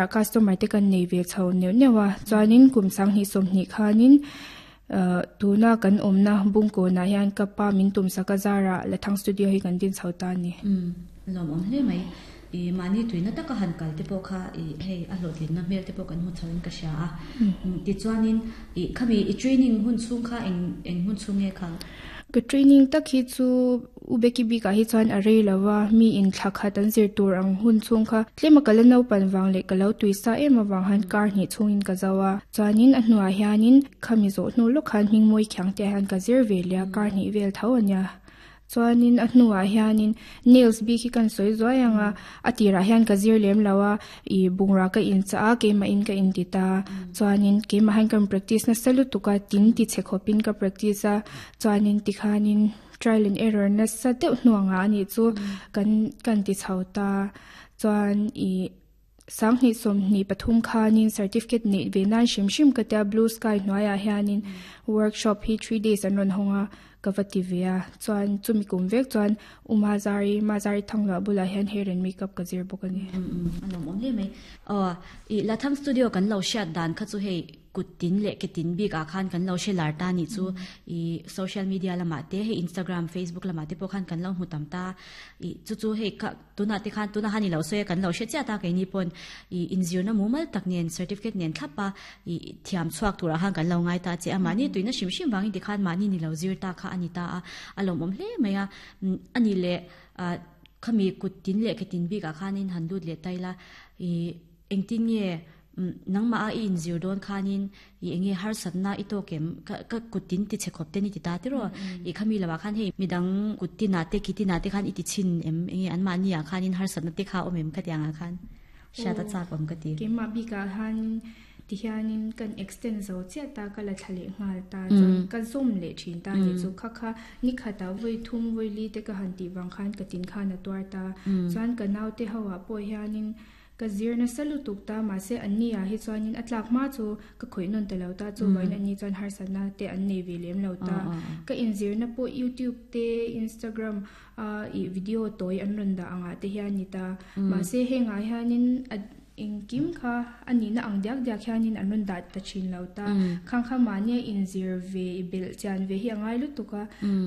zara customer te kan nei ve chho neuh neuh a chuanin kum sanghnih sawmhnih khanin ahh tuna kan awmna bungkawnah hian ka pa min tumsak a zarah Lathang studio hi kan din chho ta a ni. Umm lawmawm hle mai. I mahni tuina taka han kal te pawh kha i hei a hlawhtlinna hmel te pawh kan hmu chho in ka hria a. Tichuanin i khami i training hun chhung kha eng eng hun chhung nge kha? Ka training tak hi chu U Becky bikah hi chuan a rei lo va, mi in thla khat an zir tur ang hun chhung kha tlema ka la naupan vang leh ka lo tui sa em avang khan kar hnih chhungin ka zo a. Chuanin a hnuah hianin khami zawh hnu lawk khan hmingmawi khiang te ah hian ka zir ve leh a, kar hnih vel tho a nia. Chuanin a hnuah hianin nails bik hi kan sawi zuai ang a, a tirah hian ka zir lem lo a, ih bungrah ka inchah a, keimahin ka inti ta. Chuanin keimah hian ka practice nasa lutuk a, tin ti chhe khawpin ka practice a, chuanin tikhanin trial and error nasa deuh hnuangah a nih chu kan kan ti chho ta. Chuan ih. Sanghnih sawmhnih pathum khanin certificate neih ve nan hrim hrim ka tia blue sky hnuaiah hianin workshop hi 3 days an rawn hawng a ka va ti ve a chuan chumi kum vek chuan U Mazari Mazari Thangluah bulah hian hair and makeup ka zir bawk a ni. A lawmawm hle mai. Aw i Latham Studio kan lo hriat dan kha chu hei Kut tin leh ke tin bik ah khan kan lo hre lar ta nih chu i social media lamah te hei Instagram, Facebook lamah te pawh khan kan lo hmu tam ta. I chu chu hei kha tunah te khan tunah han i lo sawi a kan lo hre chiah ta keini pawn i inzirna mumal tak nen certificate nen thlap a i thiam chhuak turah khan kan lo ngai ta che a. Mahni tuina hrim hrim vangin tikhan mahni ni lo zir ta kha a ni ta a, a lawmawm hle mai a. A nih leh ah khami kut tin leh ke tin bik ah khanin han lut leh ta ila i Engtin nge nangmah a i inzir dawn khanin i enge harsatna i tawk em? Ka ka kut tin ti chhe khawp te ni ti ta tiraw? I khami lamah khan hei midang kut tinah te ki tinah te khan i ti chhin em? Enge anmahni ah khanin harsatna te kha awm em ka ti angah khan hriat a chak awm ka ti. Keimah bikah khan tihianin kan extend zo chiah ta ka la thla leh nghal ta chuan ka zawm leh thin ta nih chu kha kha nikhatah vawi thum vawi li te ka han tih vang khan ka tin khan a tuar ta chuan ka naute ho ah pawh hianin Ka zir nasa lutuk ta, mahse anni ah hi chuanin a tlak hma chu ka khawih nawn ta lo ta, chuvangin anni chuan harsatna te an nei ve lem lo ta. Ka inzirna pawh YouTube te, Instagram a ih video tawi an rawn dah angah te hian ni ta. Mahse hengah hianin a engkim kha a nihna ang diak diak hianin an rawn dah ta thin lo ta. Khang kha mahnia inzir ve i belh chian ve hi a ngai lutuk a,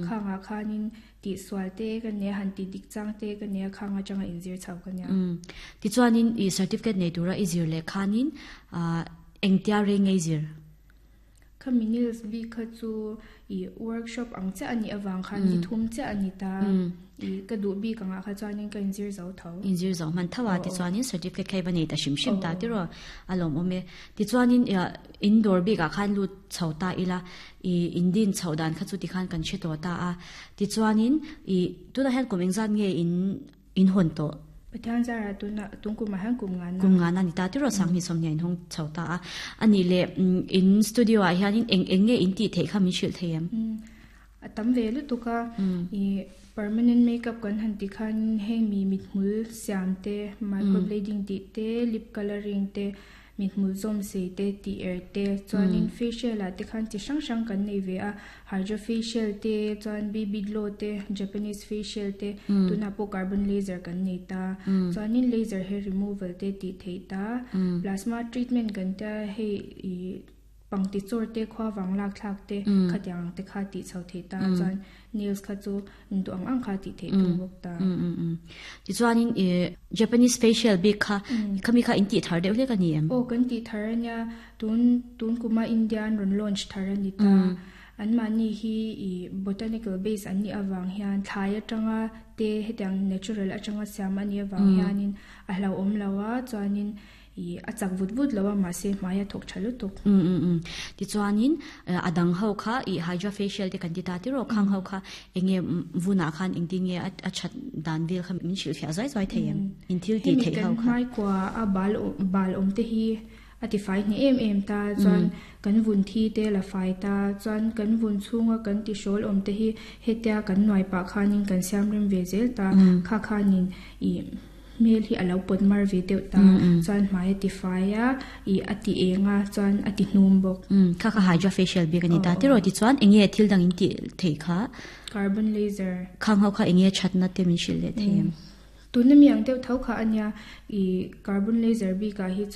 khangah khanin Tih sual te ka nia, han tih dik chang te ka nia, khang atanga inzir chho ka nia. Umm. Tichuanin i certificate nei tura i zir leh khanin ah engtia rei nge i zir? Khami nails bik kha chu i workshop ang chiah a nih avang khan ni thum chiah a ni ta. I ka duh bik angah kha chuanin ka inzir zo tho. Inzir zo hman tho a, tichuanin certificate kha i va nei ta hrim hrim ta tiraw? A lawmawm e. Tichuanin indoor bikah khan lut chho ta ila I in din chhoh dan kha chu tikhan kan hre tawh ta a. Tichuanin i tunah hian kum engzat nge in in hawn tawh? Pathian zarah tunah tung kumah hian kum ngana. Kum ngana ni ta tiraw Sanghnih sawmhnih in hawng chho ta a. A nih leh in studio ah hianin eng eng nge in tih theih kha min hrilh thei em? A tam ve lutuk a. I permanent makeup kan han tih khan heng mi mithmul siam te, microblading tih te, lip colouring te, Mithmul zawm sei te, tih er te, chuanin facial ah te khan chi hrang hrang kan nei ve a, hydra facial te, chuan BB glow te, Japanese facial te, tunah pawh carbon laser kan nei ta, chuanin laser hair removal te tih theih ta, plasma treatment kan tia hei ih pangti chawr te, khuavang lak thlak te, khatiang ang te kha tih chho theih ta, chuan nails kha chu Duh ang ang kha tih theih thung bawk ta. Tichuanin i Japanese facial bik kha khami kha in tih thar deuh hlek a ni em? Aw kan tih thar a nia. Tun tun kuma India an rawn launch thar a ni ta. Anmahni hi i botanical base an nih avang hian thlai atanga te hetiang natural atanga siam a nih avang hianin a hlauhawm lo a chuanin I a chak vut vut lo a, mahse hmai a thawk tha lutuk. Um um um. Tichuanin a dang ho kha i hydra facial te kan ti ta tiraw khang ho kha enge vunah khan engtin nge a that dan vel kha min hrilhfiah zuai zuai thei em? In thil tih theih ho kha. Hemi kan hmaikua a bal bal awm te hi a ti fai hneh em em ta chuan kan vun thi te la fai ta chuan kan vun chhunga kan ti hrawl awm te hi hetia kan nuai pah khanin kan siam rem ve zel ta kha khanin i Hmel hi a lo pawt mar ve deuh ta, chuan hmai a ti fai a, ih a ti eng a, chuan a ti hnum bawk. Umm, kha kha hydra facial bik a ni ta tiraw tichuan eng nge thil dang in tih theih kha? Carbon laser. Khang ho kha eng nge thatna te min hrilh leh thei em? Tuna mi ang deuh tho kha a nia, ih carbon laser bikah hi chuan.